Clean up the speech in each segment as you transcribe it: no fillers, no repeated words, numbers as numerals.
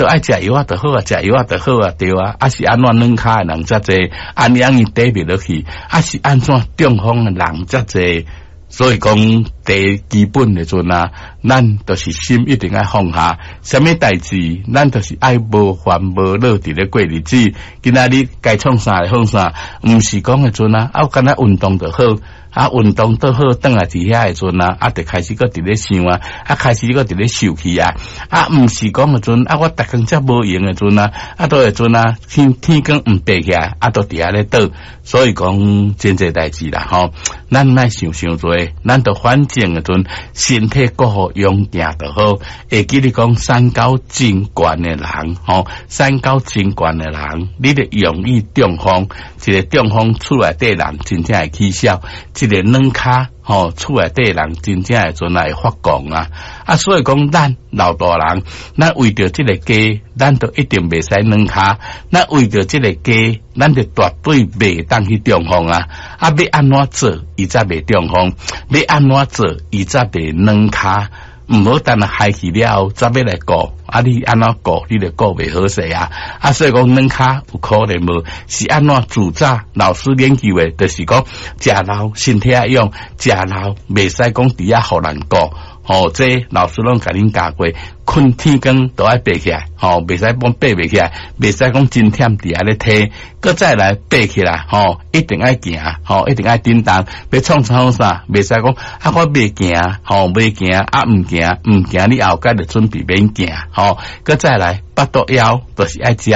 著愛食藥仔就好啊，食藥仔就好啊，對啊，啊是按怎軟跤的人遮濟，按樣伊底袂落去，啊是按怎中風的人遮濟。所以講，第基本的陣啊，咱就是心一定愛放下，啥物代誌，咱就是愛無煩無惱佇咧過日子。今仔日該創啥就創啥，毋是講的陣啊，啊，敢若運動就好。啊，運動就好，轉來佇遐的陣啊，啊，就開始閣佇咧想啊，啊，開始閣佇咧受氣啊，啊，毋是講的陣啊，我逐工遮無閒的陣啊，啊，都會陣啊，天天光毋爬起來，啊，都佇遐咧倒，所以講真濟代誌啦，吼，咱莫想傷濟，咱就反正的陣身體顧好勇健就好。會記得講三高真懸的人，吼，三高真懸的人，你就容易中風，一个中風厝內底人真正會起痟。一个軟跤吼，厝內底人真正會陣來發狂啊！啊，所以講咱老大人，咱為著這个家，咱就一定袂使軟跤；咱為著這个家，咱就絕對袂當去中風啊！啊，欲按怎做，伊才袂中風；欲按怎做，伊才袂軟跤。毋好等下害去了後，才欲來顧。啊，你按怎顧，你就顧袂好勢啊！啊，所以講軟跤有可能無？是按怎自早老師研究的，就是講食老身體愛用，食老袂使講佇遐予人顧。吼，這老師攏共恁教過，睏天光都愛爬起來，吼，袂使講爬袂起來，袂使講真忝佇遐咧推，閣再來爬起來，吼，一定愛行，吼，一定愛振動，欲創創啥，袂使講啊，我袂行，吼，袂行，啊，毋行，毋行，你後蓋就準備免行，吼，閣再來，腹肚枵，就是愛食，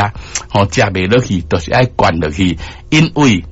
吼，食袂落去，就是愛灌落去，因為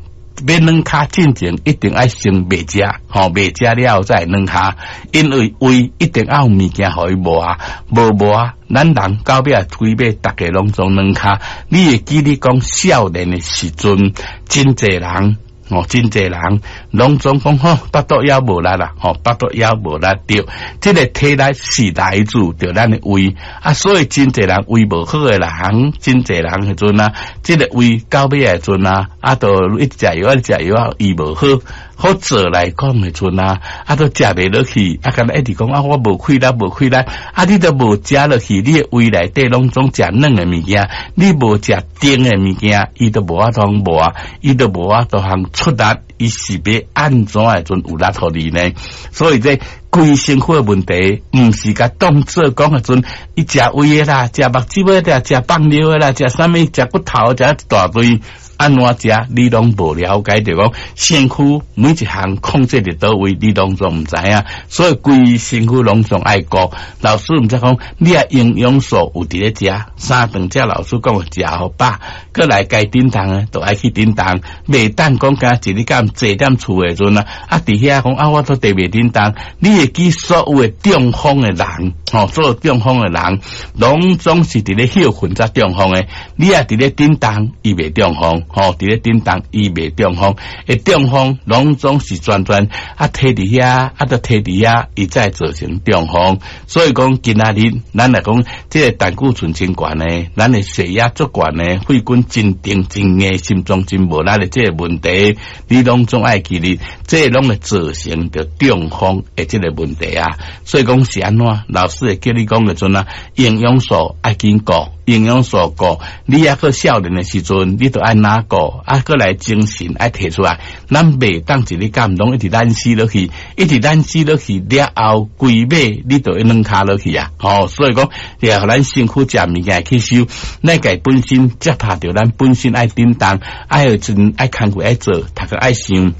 欲軟跤進前一定愛先袂食，吼，袂食了後才會軟跤，因為胃一定愛有物件予伊磨，無磨，咱人到尾啊，規尾逐家攏總軟跤。你會記得講少年的時陣，真濟人。哦，真濟人攏總講吼，腹肚枵無力啦，吼，腹肚枵無力對，這个體力是來自著咱的胃啊，所以真濟人胃無好的人，真濟人彼陣啊，這个胃到尾的陣啊，啊，都一直食藥，一直食藥啊，伊無好。好做來講的陣啊，啊，都食袂落去，啊，敢若一直講啊，我無氣力，無氣力，啊，你都無食落去，你的胃內底攏總食軟的物件，你無食甜的物件，伊都無法度磨，伊都無法度通出力，伊是欲按怎的陣有力予你呢？所以這規身軀的問題，毋是共當做講的陣，伊食胃的啦，食目屎的啦，食放尿的啦，食啥物，食骨頭，食一大堆。按怎食，你攏無了解，著講身軀每一項控制佇佗位，你攏總毋知影，所以規身軀攏總愛顧。老師毋則講，你若營養素有佇咧食，三頓食老師講食予飽，閣來該振動的，就愛去振動，袂當講敢一日敢坐踮厝的陣啊，啊佇遐講啊，我都地袂振動。你會記所有的中風的人，吼，所有中風的人，攏總是佇咧歇睏才中風的。你若佇咧振動，伊袂中風。吼，佇咧振動，伊袂中風，會中風攏總是專專啊，佇佇遐，啊，都佇佇遐，伊才會造成中風。所以講，今仔日咱來講，這个膽固醇真懸的，咱的血壓足懸的，血管真定真硬，心臟真無力的這个問題，你攏總愛記得，這攏會造成著中風的這个問題啊。所以講是按怎，老師會叫你講的陣啊，營養素愛緊顧。營養素顧，你抑閣少年的時陣，你著愛哪顧，啊，閣來精神愛提出來，咱袂當一日敢攏一直懶死落去，一直懶死落去了後，規尾你就會軟跤落去啊！吼，所以講，也予咱身軀食物件吸收，咱家本身接拍著咱本身愛振動，愛有陣愛工課愛做，讀冊愛想。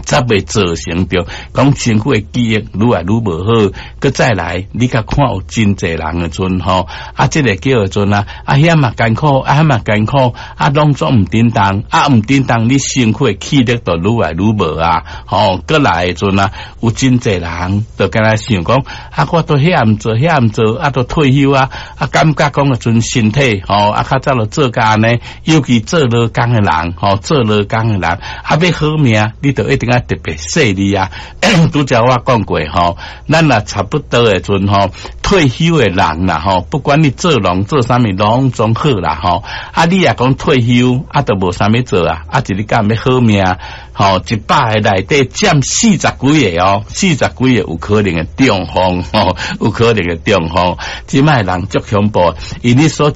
才袂造成著講身軀的記憶愈來愈無好，閣再來，你較看有真濟人的陣吼，啊，這个叫做陣啊，啊遐嘛艱苦，啊遐嘛艱苦，啊攏總毋振動，啊毋振動，你身軀的氣力就愈來愈無啊，吼，閣來的陣啊，有真濟人就敢若想講，啊，我都遐毋做，遐毋做，啊，都退休啊，啊，感覺講的陣身體吼，啊，較早就做甲按呢，尤其做勞工的人，吼，做勞工的人，啊，欲好命，你就一定愛特別細膩啊！拄才我講過吼，咱若差不多的陣吼，退休的人啦吼，不管你做農做啥物，攏總好啦吼。啊，你若講退休，啊，都無啥物做啊，啊，一日敢欲好命，吼，100個內底佔四十幾個哦，四十幾個有可能會中風吼，有可能會中風。這擺人足恐怖，因你所食。